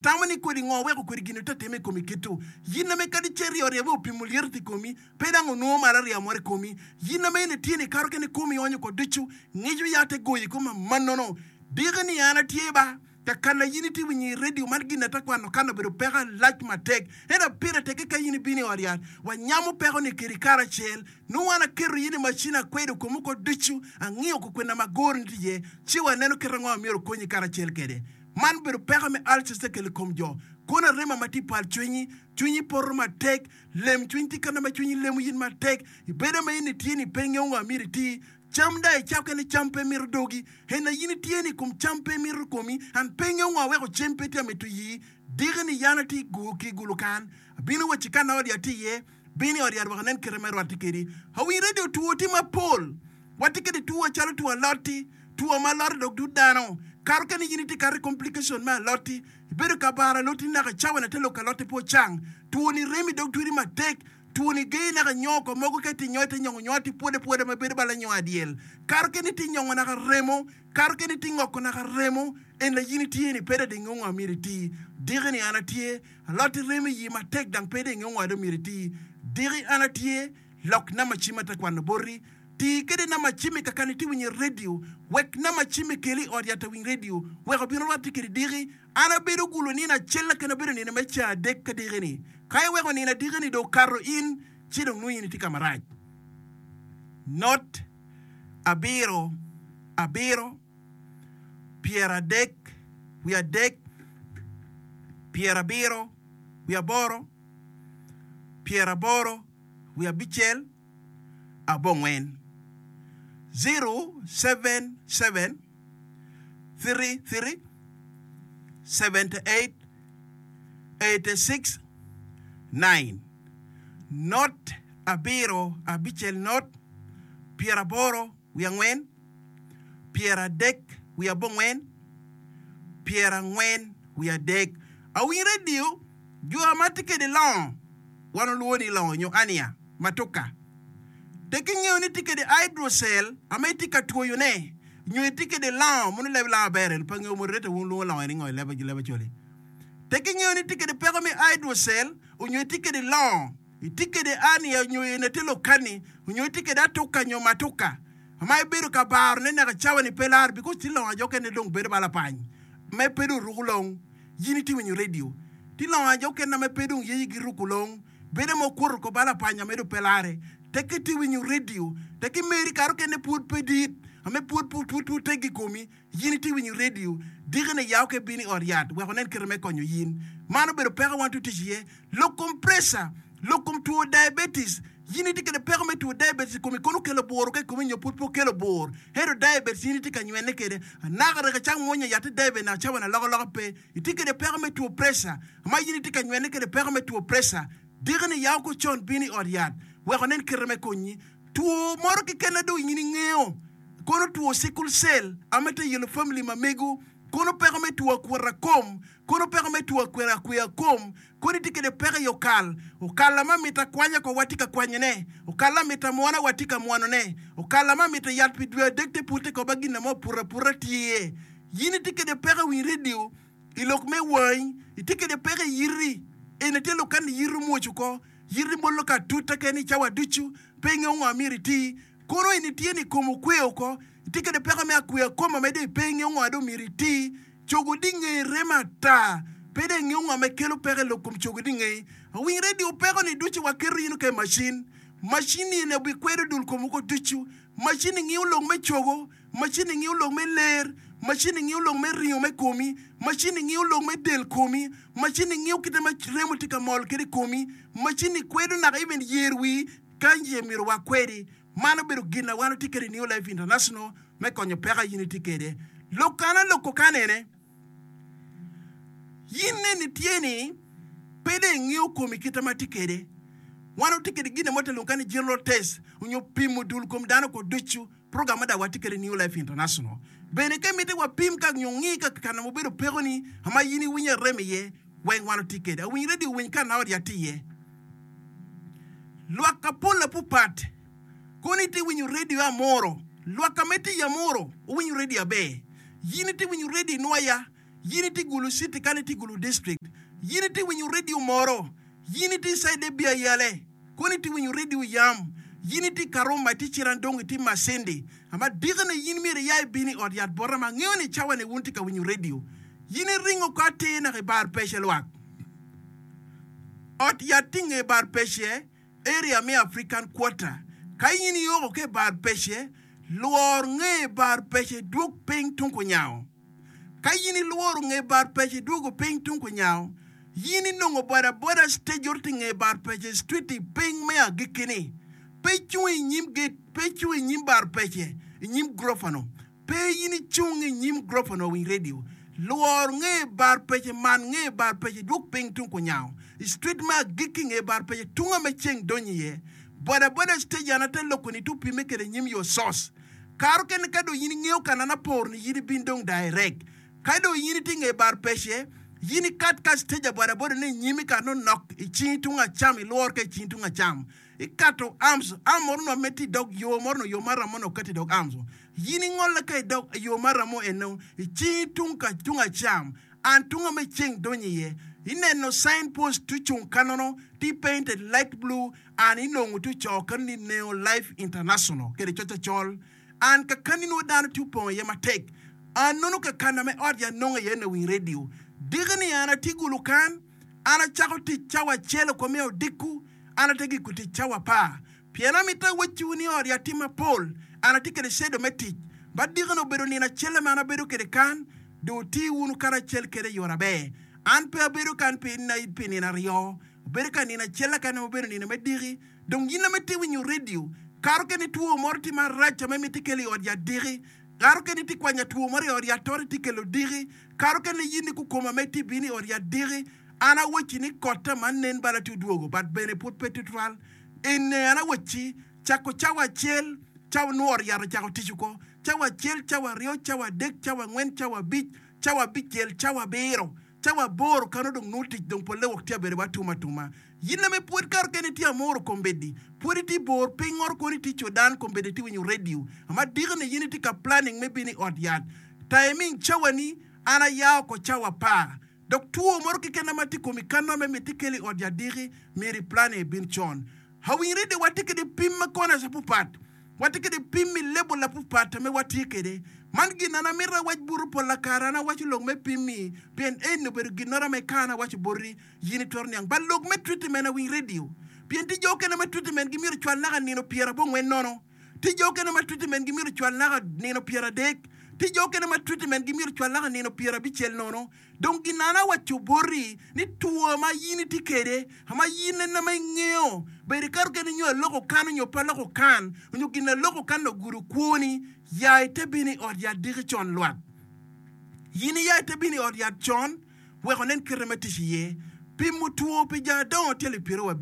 Tamo ni kodi ngo weko kodi gin ote time i komi kit-tu? Yin ame kadi ce ryo ryebe opimo lyeto i komi, pe dang onwongo malo arya moro i komi. Yin ame in itye ni kato kene komi onyo ko ducu, ngico ya te goyi i kom amannono. Diki ni an atye ba, ka kana yin itye winyo i radio man gin ate kwano kan obedo peko alac matek. Ento pire tekke ka yin ibino i ot yat, wanyamo peko ni kedi karacel. Nongo an aketo yin i macin akwedo komi oko ducu, angiyo ko kwena ma goro ni tye iye, ci waneno kit ango ma myero okonyi karacel kede. Man obedo peko me ulcers te kelo i kom jo. Kono arema ma tye i pal cwinyi, cwinyi poto matek, lem cwiny tye kene ma cwinyi lemo in matek, ibedo ma in itye ni pe ingeyo ngo myero iti, cam dong icako kene cam pe mito dogi, en aye in itye ni kom cam pe mito komi, and pe ingeyo ngo weko cem pe tye mito iyi, diki ni yan atye ki gulu kan, abino wacci ka na ot yat tye iye, bin i ot yat wek anen kite me rwatte kedi. Awiny radio two tye mapol. Watye kede two calo two alot-ti, two ma alot dok dud dano. Kato kene in itye kato i complication me alot-ti, ibedo ka baro alot-ti naka cawa na te lok alot-ti pe ocang. Two ni rem i dog tweri matek, two ni geyi naka nyo ko mogo ka itye nyo ite nyongo nyo ati pwode pwoda ma bedo bala nyo adyel. Kato kene itye nyongo naka remo, kato kene itye ngoko naka remo, en la in itye ni pe dong ingeyo ngo myero iti. Diki ni an atye, alot-ti remo i yi matek dang pe dong ingeyo ngo dong myero iti. Diki an atye, Lok namba cim ate kwano boti. Ti kede namba cimmi ka kan itye winyo redio. Wek namba cimmi keli i ot yat awiny redio wek obin orwatte kedi diki. An abedo gulo nino acel lakene abedo nino me ceng adek ka diki ni. Ka iweko nino adiki ni dong okato in ci dong nongo in itye ka marac. Not abiro abiro pyeradek wiadek pyerabiro wiaboro pyeraboro wiye abicel abongwen, 077 33 78 86 9 Not abiro abicel not pyeraboro wiye angwen pyeradek wiye abongwen pyerangwen wiye adek. Awiny redio Jo ma tye kwede longo, wan olwongo ni longo nyo ania, matuka. Tek ingeyo ni itye kwede hydrocele ama itye ka twoyone nyo itye kwede longo, mono leb lango aber eni pe angeyo moderator wun wulwongo longo eni ngo i leb Acholi. Tek ingeyo ni itye kwede peko me hydrocele onyo itye kwede longo, itye kwede ania nyo eni tye lokani onyo itye kwede atuka nyo matuka ma ibedo ka barone naka cawa-ni pe laro because tye longo ajo kene dong bedo ba lapany ma pe dong ruko long. Yin itye winyo redio. Tye longo ajo okene ma pe dong yeye gi ruko long. Bedo ma okwoto ko bal apanya medo pe lare. Tekke itye winyo redio. Tekke meri kare okene pwod pe dit. Ame pwod pwod pwod pwod teggi i komi. Yin itye winyo redio. Diki ni yaw ke bin i ot yat wek onen kite me konyo yin. Man obedo peko wan tye tic iye. Lok kom pressure. Lok kom two diabetes. Yin itye kede peko me two diabetes i komi kono okelo bur ka i komi nyo pwod pe okelo bur. Ento diabetes in itye ka nywene kede. Anaka rek icak mwonyo yat i diabetes naka cawa ni alokaloka pe. Itye kede peko me two pressure ma in itye ka nywene kede peko me two pressure. Diki ni yaw ko con bin i ot yat wek onen kite me konyi. Two moro keken na dong in ingeyo kono two sickle cell ame te yelo family ma mego kono peko me two akwota kom kono peko me two akweya kom Kodi itye kwede peko i okal. Okal ma mito akwanya ko watye ka kwanyone. Okal ma mito amwona watye ka mwonone. Okal ma mito yat pi dwe adek te pute ko ba gin mo oputo aputa tye iye. Yin itye kwede peko i winy redio, i lok me wangi, itye kwede peko i yiti. Eni tye lok kani yiti omwoc oko, yiti molo ka atuta kene i cawa ducu, pe ingeyo ngo myero iti. Kono eni tye ni kom okwe oko, itye kwede peko me akweya kom ma medo i pe ingeyo ngo dong myero iti. Cogo di ngei remo ata. Pe dong ingeyo ngo ma kelo peko i lok kom cogo di ngei. Awiny radio peko ni ducu wa keto in ka i macin. Macin ni eni obikwedo dul kom woko ducu. Macin ni ngiyo lok me cogo, macin ni ngiyo lok me ler, macin ni ngiyo lok me ringo me komi, macin ni ngiyo lok me del komi, macin ni ngiyo kite ma remo tye ka mol kwede i komi, macin ni kwedo naka even yer wii kany ce myero wa kwedi. Man obedo gin na wan watye kwede i New Life International me konyo peko a in itye kwede. Lok kana loko kan ene, In neni tye ni pe dong ingeyo komi kite ma tye kwede. Wan watye kwede gin mo te lwongo ni general test onyo pimo dul kom dano ko ducu, program ma dong watye kwede i New Life International. Bene ka imiti wapim ka nyo ngi ka kana ma obedo pekoni ma in iwinyo arem iye, weng wan watye kwede. Awiny radio winy ka na ot yat tye iye. Lwak apol apupat kono itye winyo radio amuro. Lwak ka ma itye i amuro owinyo radio aber. Yin itye winyo radio inwaya. Yin itye i Gulu City kany itye i Gulu District. Yin itye winyo radio moro. Yin itye i cide Biayale kono itye winyo radio yam. Yin itye i Karuma itye Cirandong itye Masindi. Ama dikine yin myero iya ibin i ot yat bota ma angeyo ni cawa ni wun tye ka winyo radio. Yin iringo ko atir naka i bar pece lwak. Ot yat tye i nge bar pece, area me African Quarter. Ka in ioko ki i bar pece, lwor nge bar pece dwog piny tung kunyango. Ka in ilworo nge bar pece idwogo piny tung kunyango, in inongo boda boda stage ot i nge bar pece street i piny me agikki-ni. Pe icung i nyim gate, pe icung i nyim bar pece, i nyim gurofa-nu. Pe in icung i nyim gurofa-nu winy redio. Lwor nge bar pece man nge bar pece idwog piny tung kunyango i street me agikki nge bar pece tunga me ceng donyo iye. Boda boda stage an ate loko-ni tu pimme kede nyim your source. Kare okene ka dong in ingeyo ka an aporo ni in ibin dong direct. Ka dong in itye nge bar pece, in ikat ka stage aboda boda ne inyimi ka nongo nok i cingi tung acam ilwor ka i cingi tung acam. Ikato arms, arm moro nongo me tye idog yo moro nongo yo maram mo nongo okati idog arms. In ingolle ka idog yo maram mo eno i cingi tung ka tung acam and tunga me ceng donyo iye. Ineno sign post tye ocung kanono tye painted light blue An inongo tye ocoo kany ni Neo Life International kede coc acol. An kakani nongo dano tye opongo iye matek. An nono kakana me ot ya nongo iye lawiny radio. Diki ni an atye gulu kan, an acako tic cawa acel oko me odiko, an ate giko tic cawa apar. Pien amito awacciwu ni ot ya tye mapol, an atye kede cedo me tic. Ba diki ni obedo nino acelle ma an abedo kede kan, dong wuti wunu karacel kede i yore aber. An pe abedo kan pi nino aryo. Obedo ka nino acel keken ma obedo nino me diki. Dong in ame itye winyo redio, kare okene two moro tye marac ame miti kelo i ot yat diki. Kare okene itye kwanya two moro i ot yat toto itye kelo diki. Kare okene in ni kukoma ame itye bino i ot yat diki. An awacci ni kotta man nen bala tye odwogo but bene pud pe tutwal. Ene an awacci cako cawa acel cawa nwo ot yat ocako tic oko. Cawa acel, cawa aryo, cawa adek, cawa angwen, cawa abic, cawa abicel, cawa abiro. Cawa aboro kano dong nongo tic dong polle wok tye abedo wa atum atuma. Yin ame pwod kare kene itye amoro kombeddi, pwod itye bor piny ngoro kono itye Sudan kombeddi itye winyo radio ama diki ni yin itye ka planning me bino i ot yat. Timing cawa ni an aya oko cawa apar dok two moro keken ama tye komi kano ame miti kelo i ot yat diki myero i planning ibin con. Awiny radio watye kede pim ma corners apupat. Watye kede pim i label apupat ame watye kede. Man gin an amito awac butu pol lakare an awaco lok me pim-mi pien eni obedo ginnoro ame ka an awaco boti yin itwero niang. But lok me treatment awiny radio pien tye jo okene ma treatment gi myero ocwal naka nino pyerabongwen nono. Tye jo okene ma treatment gi myero ocwal naka nino pyeradek. Tye jo okene ma treatment gi myero ocwal naka nino pyerabicel nono. Dong gin an awaco boti ni two ma in itye kwede, ma in en ma ingeyo, bedo ikato kene nyo aloko kan nyo pe aloko kan, nyo gin aloko kan ogudo kwoni, ya ite bino i ot yat diki con lwak. In iya ite bino i ot yat con wek onen kite me tic iye. Pimo two pi jo adongo tye alip pyeraryo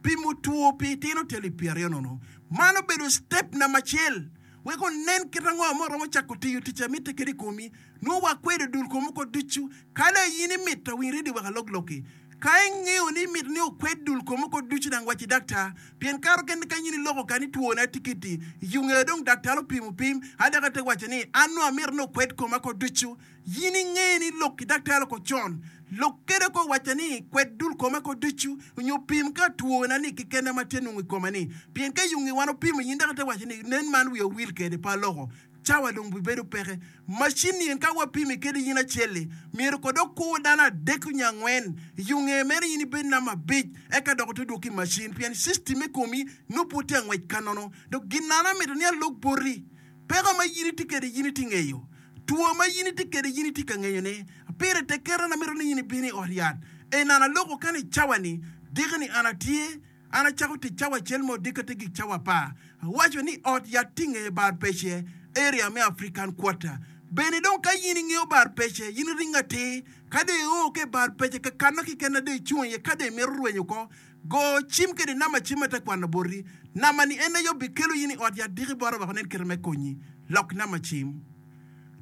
pimo two pi itino tye alip pyeraryo nono. Man obedo step namba acel wek onen kit ango ma oromo cako tiyo tic a mitte kwede i komi. Nongo wakwedo dul kom oko ducu. Ka dong in imito, winy redio wek alok lokki. Ka ingeyo ni imito ni okwed dul kom oko ducu, dang waci daktar. Pien kare okene ka in iloko ka ni twona tikiti, iyunge dong daktar opimo pim, a dok ate waco ni, An nongo amito ni okwed koma oko ducu. In inge ni lok ki daktar oko con. Lok kede oko wacca ni, Kwed dul koma oko ducu, onyo pim ka twona ni kikene ma tye nongo i koma ni. Pien ka iyunge wan opimo, in dok ite waco ni, Nen man wiya owil kede, pe aloko. Cawa dong bibedo peke. Macin-ni en ka wapimi kede in acel-li, myero kod okur dano adek nyo angwen. I yo nge meno in ibed namba abic, eka dok ote dwoki i macin, pien system me komi nongo pud tye angwec ka nono. Dok gin an amito ni alok boti, peko ma in itye kede in itye ngeyo, two ma in itye kede in itye ka ngeyone. Pire tek keta an amito ni in ibin i ot yat. En an aloko kany i cawa-ni, diki-ni an atye. An acako tic cawa acel ma odiko te gik cawa apar. Awaco ni ot yat tye nge bar pece, area me African Quarter. Bene dong ka in ingeyo bar pece, in iringo atir. Ka dong io ki i bar pece, kakano keken na dong icung iye ka dong imito rwenyo oko, go cim kede namba cim ma te kwano boti. Namba ni en aye obikelo in i ot yat diki bota wek onen kite me konyi. Lok namba cim,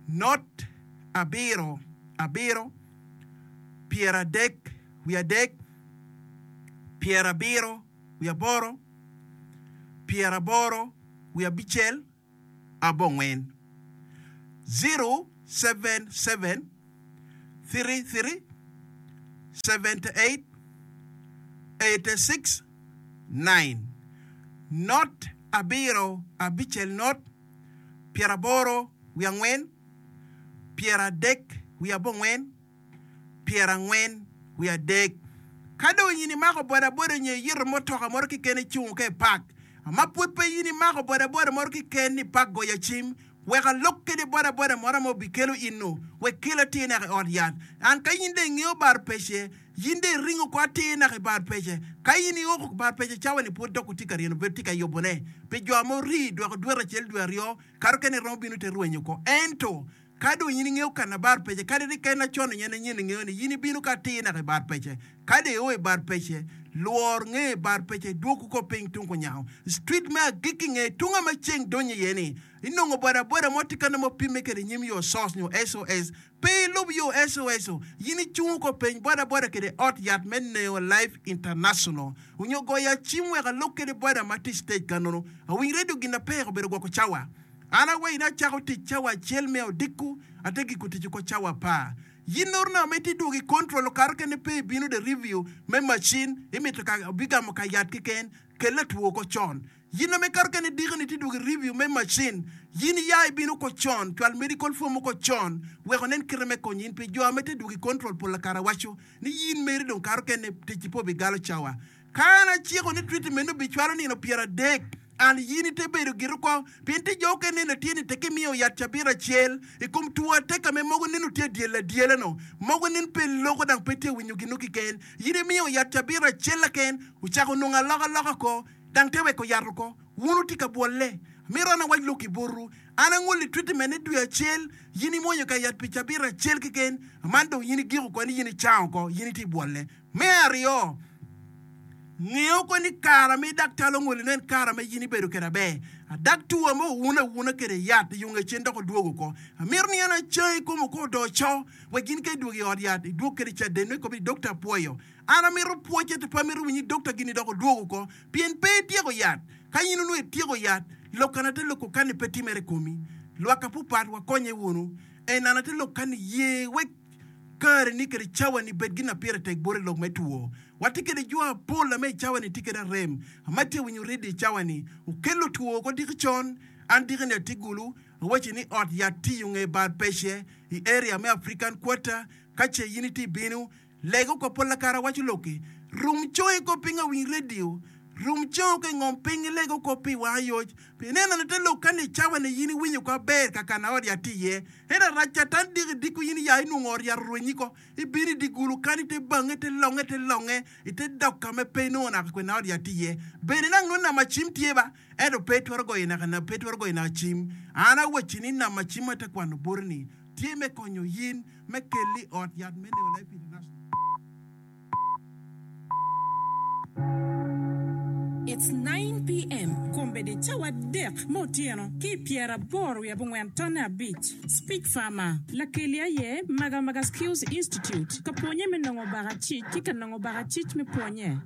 not abiro abiro pyeradek wiye adek. pyerabiro wiye aboro, pyeraboro wiye abicel, abongwen. 077. 33 78 86 9 Not abiro abicel not pyeraboro wiye angwen pyeradek wiye abongwen pyerangwen wiye adek. Ka dong in imako bodaboda nyo iyito mutoka moto keken icungo ka i pak, ma pud pe in imako bodaboda moto keken ni pak goya cim, wek alok kede bodaboda moto ma obikelo in-nu, wek kel atir naka i ot yat. An ka in dong ingeyo bar pece, in dong iringo ko atir naka i bar pece. Ka in ioko bar pece cawa-ni pud dok wutye ka ryeno bedo tye ka yubone pi jo ma orii dweko dwete acel dwe aryo, kato kene iromo bino ite rwenyo ko. Ento Ka dong in ingeyo ka na bar pece, kadi rik en acon nyo en anyen ingeyo ni in ibino ka atir naka i bar pece. Ka dong io i bar pece, lwor nge bar pece idwog oko piny tung kunyango. Street me agikki nge tunga ma ceng donyo iye ni, inongo boda boda mo tye kany ma opimme kede nyim yo sos nyo SOS. Pe ilub yo SOS o, in icung oko peny boda boda kede ot yat me Neo Life International onyo goya cim wek alok kede boda ma tye i stage kanono. Awiny radio gin na pek obedo gwoko cawa. An awayi ni acako tic cawa acel me odiko, ate giko tic oko cawa apar. Yin orna ma itye dwogo i control okato kene pe ibino the review me machine imito ka obigamo ka yat keken kel latwo oko con. Yin ame kato kene diki ni itye dwogo i review me machine yin iya ibino oko con cwal medical form oko con wek onen kite me konyo in pi jo ame tye dwogo i control pol kare awaco ni yin meri dong kato kene ticci pe obigalo cawa. Ka an aciko ni treatment obicwalo nino pyeradek, an yin ite bedo giri oko, pien tye jo okene neno tye ni tek imiyo yat cabit acel i kom two ateka me mogo neno tye adyel adyela no, mogo nen pe loko dang pe tye winyo gino kiken. Yin imiyo yat cabit acel laken, ocako nongo aloka loka oko, dang te weko yat oko. Wun wutye ka bwolle. Amito an awac lok i botwu. An angoli treatment ne dwe acel, yin imwonyo ka yat pi cabit acel keken, man dong yin igiko oko ni yin icango oko, yin itye bwolle. Me aryo, ngeyo ko ni kara me daktal ongoli nongo en kara ma in ibedo kwede aber. Adak two ma owun awuna kwede yat i yunge cen dok odwogo oko. Amito ni an acangi i kom oko odoo co wek in ka idwogo i ot yat idwog kwede caden nongo ikobo ni dokta apwoyo. An amito pwoc ento pe amito winyo ni dokta gini dok odwogo oko pien pe ityeko yat. Ka in onongo ityeko yat, lok kana te loko kani pe timere i komi. Lwak apupat wakonye wunu. En ana te lok kani ye wek Kareni kede cawani bed gin ma pire tek boti i lok me two. Watye kede jo apol ame i cawani tye kede arem ama tye winyo redio i cawani. Okello two oko diki con. An diki ni atye gulu, awaci ni ot yat tiyo nge bar pece i area me African Quarter. Ka ce in itye ibino, leg oko pol kare awaco lokki. Rum congi ko piny awiny redio. Rum congi ko i ngom piny ileg oko pi wang ayoc. Pi ineno ni te lok kani i cawani in iwinyo oko aber kakana ot yat tye iye. Ento arac Catan diki diko in iya inwongo ot yat orwenyi ko, ibino i dye gulu kany ite bange ite longe ite longe ite dok ka ma pe inongo naka kwena ot yat tye iye. Bene nang nongo nama cim tye ba, ento pe itwero goyo naka pe itwero goyo naka cim. An awacci ni nama cim ma ate kwano boti ni tye me konyo in me kelli i ot yat me New Life International. It's 9 PM, Kombeddi cawa adek me otyeno ki i pyeraboro wiye abongwen tonne abic. Speech Farmer, Lakeli aye Magamaga Skills Institute ka pwonye me nongo bakacic ki ka nongo bakacic me pwonye.